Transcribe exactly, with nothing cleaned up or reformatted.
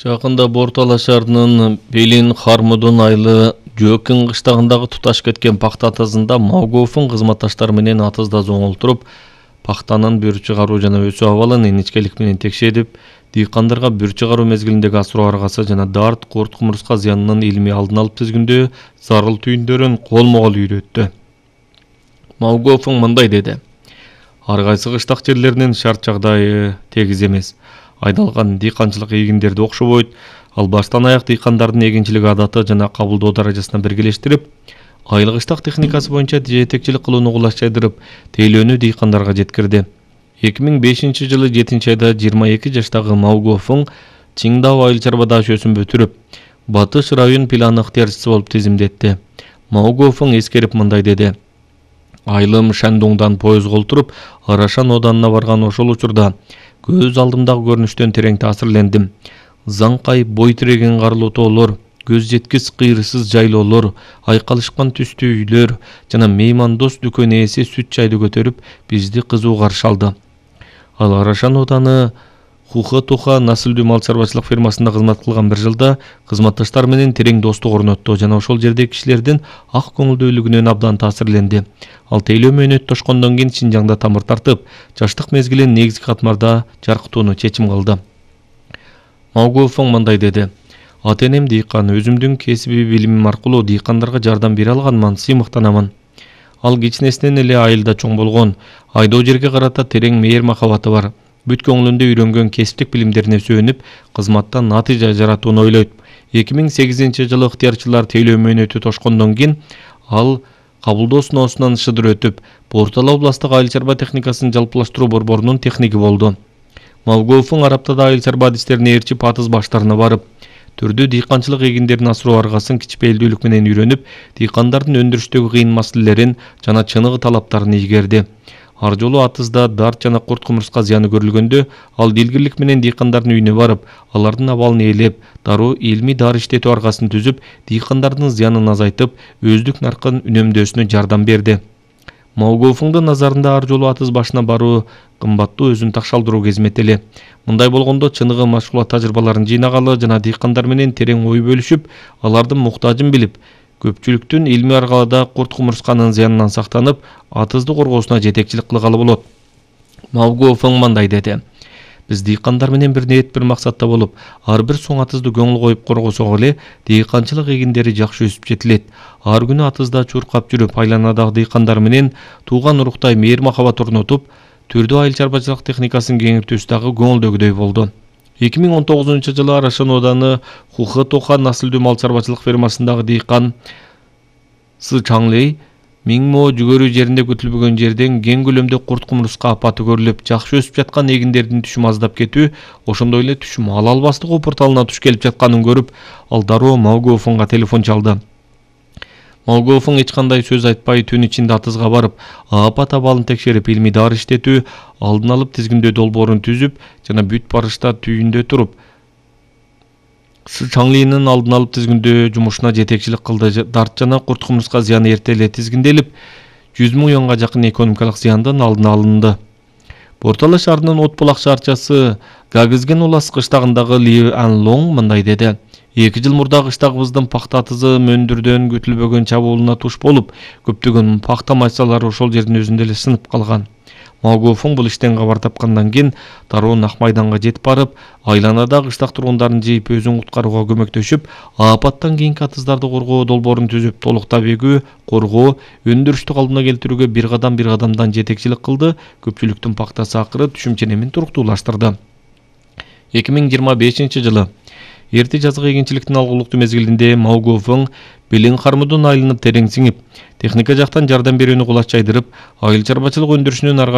Жакында Бортала шаарынын Белин Хармудун айылы Жөкин кыштагындагы туташ кеткен пахта атызында Маугофун кызматташтары менен атызда зоңолтуруп, пахтанын бүр чыгаруу жана өсүү абалын иничкелик менен текшерип, дыйкандарга бүр чыгаруу мезгилиндеги асыроо аргасы жана дарт, курт кумурска зыянынын илмий алдын алып тизгиндөө зарыл түйүндөрүн колмо-кол үйрөттү. Маугофун мындай деди: Ар кайсы кыштак жерлеринин шарт жагдайы тегиз эмес. Айдалган дыйканчылык эгиндерди окшобойт. Ал баштан аяк дыйкандардын эгинчилик адаты жана кабылдоо даражасына биргелештирип, айыл кыштак техникасы боюнча жетекчилик кылууну кулачайдырып, тейлөөнү дыйкандарга жеткирди. эки миң бешинчи жылы жетинчи айда жыйырма эки жаштагы Маугофун Чиңдау айыл чарба дашөөсүн бүтүрүп, Батыш район планы ыктыярчысы болуп тизимдетти. Маугофун эскерип мындай деди: Айылым Шандуңдан поездго олтуруп, Арашан оданына барган ошол учурда көз алдымдагы көрүнүштөн терең таасирлендим. Заңкай бой тиреген карлуу тоолор, көз жеткис кыйрысыз жайлоолор, айкалышкан түстүү үйлөр жана меймандос дүкөн ээси сүт чайды көтөрүп, бизди кызуу каршы алды. Ал Арашан оданы Хуха-Туха насылдуу мал чарбачылык фермасында кызмат кылган бир жылда кызматташтар менен терең достук орнотту жана ошол жердеги кишилердин ак көңүлдүүлүгүнөн абдан таасирленди. Ал тейлөө мөөнөт тошкондон кийин Шинжаңда тамыр тартып, жаштык мезгилин негизги катмарда жаркытууну чечим кылды. Маугофун мындай деди: Ата-энем дыйкан, өзүмдүн кесиби билимим аркылуу дыйкандарга жардам бере алганман, сыймыктанамын. Ал кичинесинен эле айылда чоң болгон, айдоо жерге карата терең мейир махабаты бар. Бүт көңүлүндө үйрөнгөн кесиптик билимдерине сүйөнүп, кызматтан натыйжа жаратууну ойлойт. эки миң сегизинчи жылы ыктыярчылар тейлөө мөөнөтү тошкондон кийин ал кабылдоо сыноосунан шыдыр өтүп, Бортала областтык айыл чарба техникасын жалпылаштыруу борборунун техниги болду. Маугофун Араптада айыл чарба адистерине ээрчип, атыз баштарына барып, түрдүү дыйканчылык эгиндерин асыроо аргасын кичпейилдүүлүк менен үйрөнүп, дыйкандардын өндүрүштөгү кыйын маселелерин жана чыныгы талаптарын ийгерди. Ар жолу атызда дарт жана курт кумурска зыяны көрүлгөндө, ал дилгирлик менен дыйкандардын үйүнө барып, алардын абалын ээлеп, дароо илмий дары иштетүү аргасын түзүп, дыйкандардын зыянын азайтып, өздүк наркын үнөмдөөсүнө жардам берди. Маугофундун назарында ар жолу атыз башына баруу кымбаттуу, өзүн такшалдыруу кезмет эле. Мындай болгондо чыныгы машгулат тажрыйбаларын жыйнагалы жана дыйкандар менен терең ой бөлүшүп, алардын муктажын билип, көпчүлүктүн илмий аргалада курт кумурсканын зыянынан сактанып, атызды коргоосуна жетекчилик кылгалы болот. Маугофун мындай деди: Биз дыйкандар менен бир ниет, бир максатта болуп, ар бир соң атызды көңүл коюп коргосок эле, дыйканчылык эгиндери жакшы өсүп жетилет. Ар күнү атызда чуркап жүрүп, айланадагы дыйкандар менен тууган уруктай мейир махабат орнотуп, түрдүү айыл чарбачылык техникасын кеңиртүүсү дагы көңүлдөгүдөй болду. эки миң он тогузунчу жылы Арашан оданы Хуха-Туха насылдуу мал чарбачылык фермасындагы дыйкан Сы Чаңлей миң мо жүгөрү жеринде күтүлбөгөн жерден кең көлөмдө курт кумурска апаты көрүлүп, жакшы өсүп жаткан эгиндердин түшүмү аздап кетүү, ошондой эле түшүм ала албастык опурталына туш келип жатканын көрүп, ал дароо Маугофунга телефон чалды. Маугофун эч кандай сөз айтпай, түн ичинде атызга барып, апат абалын текшерип, илмий дары иштетүү, алдын алып тизгиндөө долбоорун түзүп жана бүт барышта түйүндө туруп, Сы Чаңлийнин алдын алып тизгиндөө жумушуна жетекчилик кылды. Дарт жана курт кумурска зыяны эрте эле тизгинделип, жүз миң юанга жакын экономикалык зыяндын алдын алынды. Бортала шаарынын От булак шаарчасы Гагызген улас кыштагындагы Ли Анлонг мындай деди: эки жыл мурда кыштагыбыздын пахта атызы мөндүрдөн күтүлбөгөн чабуулуна туш болуп, көптөгөн пахта майсалары ошол жердин өзүндө эле сынып калган. Маугофун бул иштен кабар тапкандан кийин дароо Нак майданга жетип барып, айланада кыштак тургундарын жыйып, өзүн куткарууга көмөктөшүп, апаттан кийинки атыздарды коргоо долбоорун түзүп, толук табигүү, коргоо, өндүрүштү калыбына келтирүүгө бир кадам бир кадамдан жетекчилик кылды, көпчүлүктүн пахтасы акыры түшүм ченемин туруктуулаштырды. эки миң жыйырма бешинчи жылы эрте жазгы эгинчиликтин алгылыктуу мезгилинде Маугофун Белин Хармудун айылына терең сиңип, техника жактан жардам берүүнү кулачайдырып, айыл чарбачылык өндүрүшүнүн